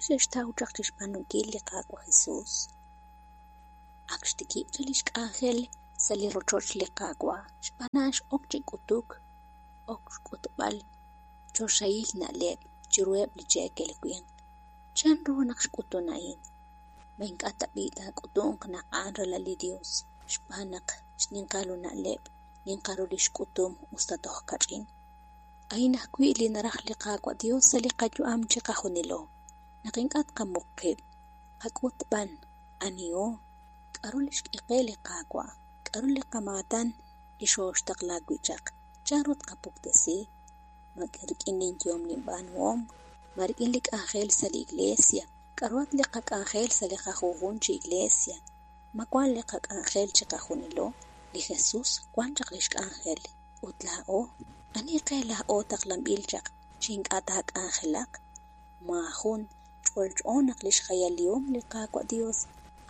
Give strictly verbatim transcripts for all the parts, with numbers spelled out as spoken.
xe'xtaw chaq chi xb'aanunkil li Qaawa' Jesus? Ak xtikib' chaq li xk'anjel sa' li rochoch li Qaawa', xb'aan a'an x'ok chi k'utuk, ok xk'utb'al choxahil na'leb' chiruheb' li cheekel winq. Chanru naq xk'utun a'in? Ma ink'a' tab'i' taak'utunq naq a'an ralal li Yos xb'aan naq xninqal ru na'leb', ninqal ru li xk'utum usta toj kach'in? A'in ajwi' li naraj li Qaawa' Yos sa' li qayu'am chiqajunilo, naq ink'a' tqamuq qib', qak'ut b'an aniho, k'aru li xk'e qe li Qaawa', k'aru li qamaatan li xooxtaqla wi' chaq, chanru tqapuktesi, ma rik'in linyehom linb'aanuhom, ma rik'in li k'anjel sa' li iglesia, k'aruhat li qak'anjel sa' li qajunjun chi iglesia, ma wank li qak'anjel chiqajunilo? Li Jesus wank chaq li xk'anjel ut laa'o, ani qe laa'o taqlanb'il chaq chi ink'a' taak'anjelaq? Maajun. Ch'olch'o naq li xjayalihom li Qaawa' Yos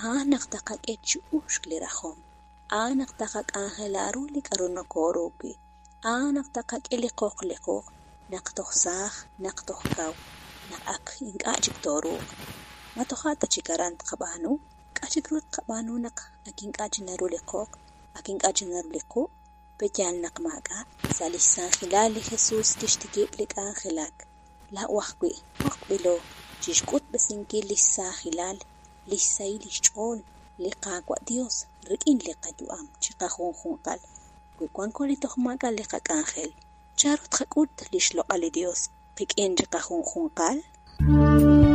a'an naq taqak'e chi uxk li rajom, a'an naq taqak'anjela ru li k'aru nokooru wi', a'an naq taqak'e li qoq li quq' naq toj saaj, naq toj kaw, naq ak ink'a' chik tooruuq. Ma toja' ta chik aran tqab'aanu? K'a' chik ru tqab'aanu naq ak ink'a' chik naru li qoq, ak ink'a' chik naru li quq'? Pe'yaal naq maak'a'? Sa' li xsaajilal li Jesus kixtikib' li k'anjelak. Laa'o ajwi' b'oqb'ilo chi xk'utb'esinkil li xsaajilal, li xsahil li xch'ool li Qaawa' Yos rik'in li qayu'am chiqajunjunqal. Wi wanko li toj maak'a' li qak'anjel, chanru tqak'ut li xloq'al li Yos qik'in chiqajunjunqal?